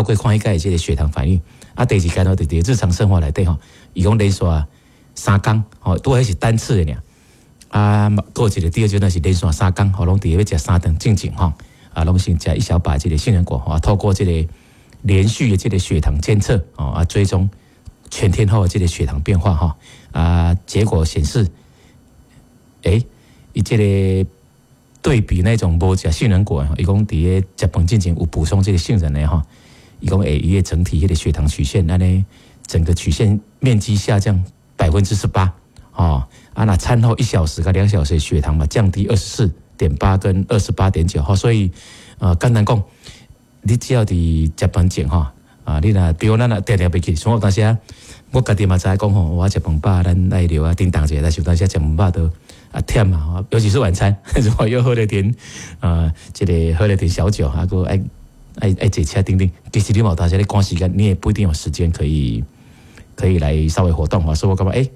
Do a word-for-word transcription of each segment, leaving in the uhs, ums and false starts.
透過看彼個這个血糖反應。啊，第二階段就佇日常生活內底吼，伊講連續三工吼，拄彼是單次的爾。啊，閣有一個第二階段是連續三工，吼，攏佇欲食三頓進前吼，啊，攏先食一小把這个杏仁果，吼，透過這個連續的這個血糖監測，哦，啊，追蹤全天候的這個血糖變化，吼，啊，結果顯示，欸，伊這个對比那種無食杏仁果，伊講佇咧食飯進前有補充這個杏仁的吼，伊講會伊的整體彼个血糖曲線，按呢整個曲線面積下降百分之十八，哦，啊，若餐後一小時佮兩小時血糖嘛降低二十四點八跟二十八點九，吼，所以呃，簡單講，你只要佇食飯前吼，啊，你若比如咱若定定袂記，像我有當時啊，我家己嘛知影講吼，我食飯飽，咱愛留啊叮當一下，但是有當時食飯飽都啊忝啊，尤其是晚餐，如果又喝了點啊，這个喝了點小酒，啊，閣愛愛愛坐車等等，其實你嘛有當時咧趕時間，你也不一定有時間可以可以來稍微活動啊，所以我感覺欸，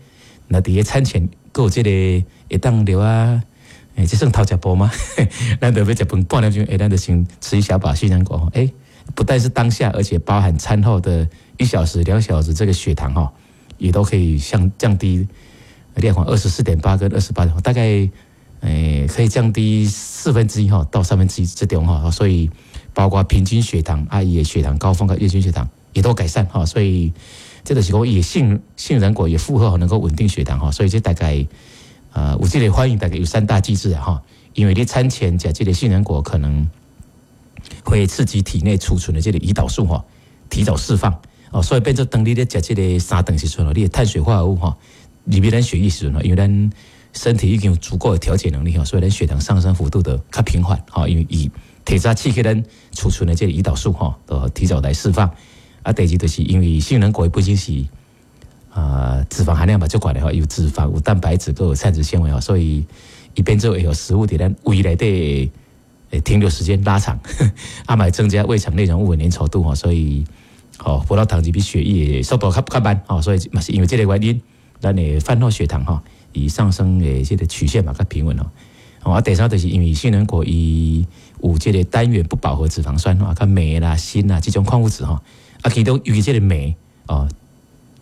若佇咧餐前閣有這个會當留啊，欸，這算偷食步嗎？咱就欲食飯半點鐘，欸，咱就先吃一小把杏仁果，欸，不但是當下，而且包含餐後的一小時、兩小時，這個血糖哈，也都可以降降低，你看二十四點八跟二十八，大概欸可以降低四分之一哈到三分之一之中哈，所以包括平均血糖、啊伊的血糖高峰跟月均血糖也都改善哈，所以這就是講伊杏杏仁果也符合能夠穩定血糖哈，所以這大概呃有這个反應大概有三大機制哈，因為你餐前食這个杏仁果可能會刺激體內儲存的這个胰島素哈提早釋放哦，所以變做當你咧食這个三頓時陣，你的碳水化合物哈入去咱血液時陣，因為咱身體已經有足夠的調節能力哈，所以咱血糖上升幅度的較平緩哈，因為伊提早刺激咱儲存的這个胰島素哈，都提早來釋放。啊，第二就是因為杏仁果本身是啊脂肪含量嘛足懸的吼，有脂肪、有蛋白質、閣有膳食纖維吼，所以伊變做會予食物佇咱胃內底停留時間拉長，啊嘛會增加胃腸內容物的粘稠度吼，所以吼葡萄糖入去血液的速度較較慢吼，所以嘛是因為這个原因，咱的飯後血糖吼伊上升的這个曲線嘛較平穩吼。啊，第三就是因為杏仁果伊有這个單元不飽和脂肪酸吼，佮鎂啦、鋅啦這種礦物質吼，啊，其中尤其這个鎂哦，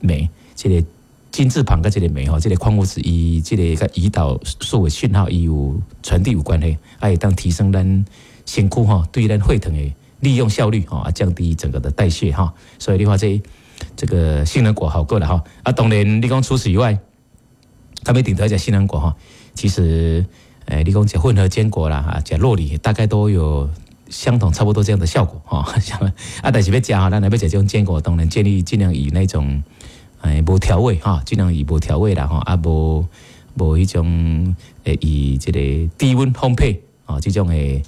鎂這个金字旁佮這个鎂吼，這个礦物質伊這个佮胰島素的訊號伊有傳遞有關係，啊，會當提升咱身軀吼對咱血糖的利用效率吼，啊，降低整個的代謝哈。所以你看這這個杏仁果好過啦吼。啊，當然你講除此以外，他們頂頭食杏仁果吼，其實欸，你講食混合堅果啦，啊，食酪梨大概都有相同差不多這樣的效果吼。啊，但是欲食吼，咱若欲食這種堅果，當然建議盡量以那種欸無調味哈，盡量以無調味啦吼，啊無無彼種欸以這個低溫烘焙哦這種的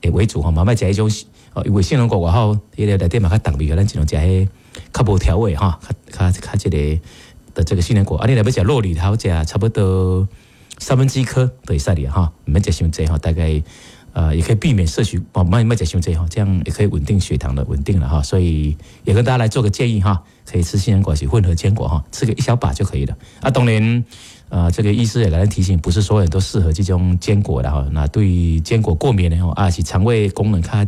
的為主吼，嘛莫食彼種哦，因為杏仁果外口彼个內底嘛較重味，咱盡量食彼較無調味哈，較較較這个的這個杏仁果。啊，你若欲食酪梨，好食差不多三分之一顆就會使哩哈，毋免食傷濟哈，大概呃也可以避免攝取哦，莫莫食傷濟哈，這樣也可以穩定血糖的穩定了哈。所以也跟大家來做個建議哈，可以吃杏仁果是混合堅果哈，吃個一小把就可以了。啊，當然呃，這個醫師也來提醒，不是所有人都適合這種堅果的哈。那對堅果過敏的吼，啊是腸胃功能較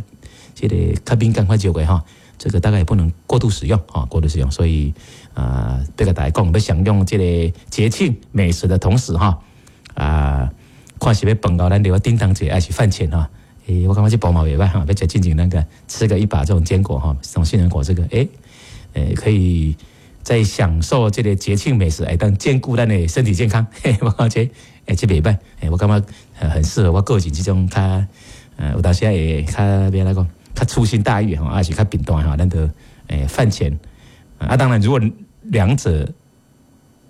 這个較敏感較弱的哈，這個大概也不能過度使用啊，過度使用。所以啊，這個大家講，欲享用這個節慶美食的同時哈，啊，看是欲飯後咱留叮當一下，還是飯前哈？欸，我感覺這步嘛袂䆀哈，欲食進前那個吃個一把這種堅果哈，這種杏仁果這個，欸，欸，可以在享受這個節慶美食，會當兼顧咱的身體健康。嘿，我感覺欸，這袂䆀，欸，我感覺很適合我個人這種較，呃，有當時會較欲按怎講，較粗心大意吼，還是較貧惰吼，咱就欸飯前啊，當然如果兩者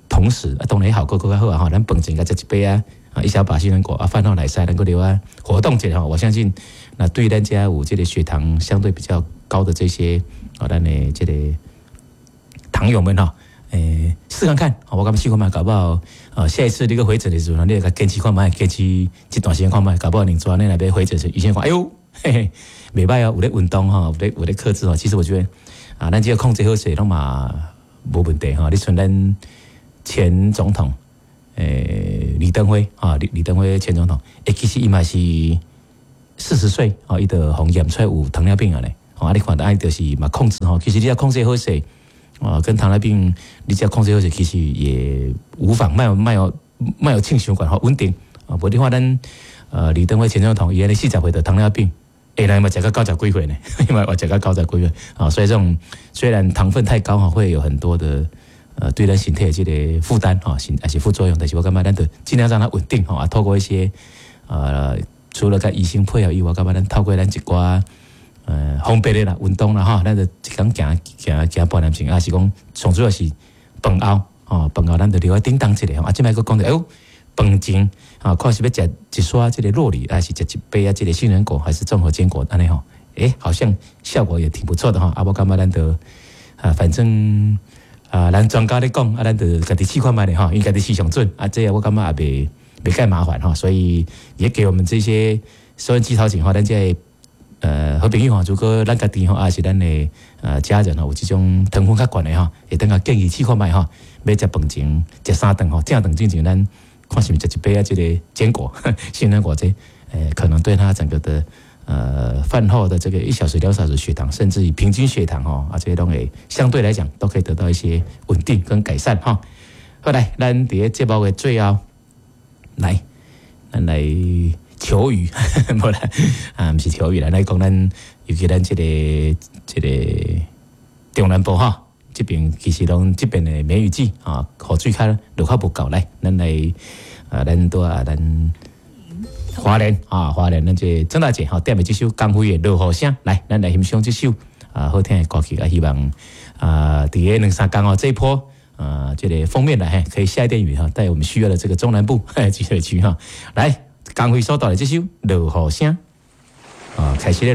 同時，啊，當然效果閣較好啊吼，咱飯前共食一把啊，啊，一小把杏仁果啊，飯後來使，能夠留啊活動一下吼，我相信那對咱遮有這個血糖相對比較高的這些啊，咱的這個糖友們吼，欸，試看看，我感覺試看覓，搞不好，呃，下一次你閣回診的時陣，你會共堅持看覓，堅持這段時間看覓，搞不好你昨你若欲回診時，醫生講，哎喲，嘿嘿，袂䆀哦，有咧運動吼，有咧有咧克制吼。其實我覺得啊，咱只要控制好勢，攏嘛無問題吼。你像咱前總統，欸，李登輝啊，李李登輝前總統，欸，其實伊嘛是四十歲，哦，伊就予驗出來有糖尿病啊咧，啊，你看著按就是嘛控制吼，其實你欲控制好勢，啊，跟糖尿病你只要控制好勢，其實也無妨，莫莫莫予衝傷懸吼穩定。啊，無你看咱呃李登輝前總統伊按呢四十歲著糖尿病，欸，來嘛食到九十幾歲呢，伊嘛食到九十幾歲啊，所以這種雖然糖分太高哈，會有很多的呃對咱身體的這個負擔哈，還是副作用，但是我感覺咱著盡量讓它穩定吼啊，透過一些呃除了佮醫生配合以外，感覺咱透過咱一寡呃方便的啦，運動啦吼，咱就一工行行行半點鐘，抑是講上主要是飯後吼，飯後咱就留愛叮當一下吼，啊，這擺閣講著，哎喲，飯前啊，看是欲食一撮這個酪梨，還是食一杯仔這個杏仁果，還是綜合堅果按呢吼？欸，好像效果也挺不錯的吼。啊，我感覺咱著啊，反正啊，咱專家咧講，啊，咱著家己試看覓咧吼，𪜶家己試上準，啊，這個我感覺也袂袂蓋麻煩吼，所以也給我們這些收音機頭前吼，咱這個呃好朋友吼，如果咱家己吼，抑是咱的呃家人吼，有這種糖分較懸的吼，會當共建議試看覓吼，欲食飯前食三頓吼，正頓進前咱看是毋是食一杯仔這個堅果、杏仁果這，呃，可能對他整個的呃飯後的這個一小時、兩小時血糖，甚至於平均血糖吼，啊，這些攏會相對來講都可以得到一些穩定跟改善哈。好來，咱佇咧節目的最後，來，咱來求雨，無啦，啊，毋是求雨啦，來講咱尤其咱這個這個中南部哈，這邊其實攏這邊的梅雨季啊，雨水較落較無夠，來，咱來啊，咱拄啊，咱花蓮啊，花蓮咱這個曾大姐吼點的這首江蕙的《落雨聲》，來，咱來欣賞這首啊好聽的歌曲啊，希望啊，佇咧兩三工哦，這一波。啊，這個鋒面來，可以下一點雨哈，帶我們需要的這個中南部集水區哈，來，江蕙所帶來這首《落雨聲》啊，開始咧。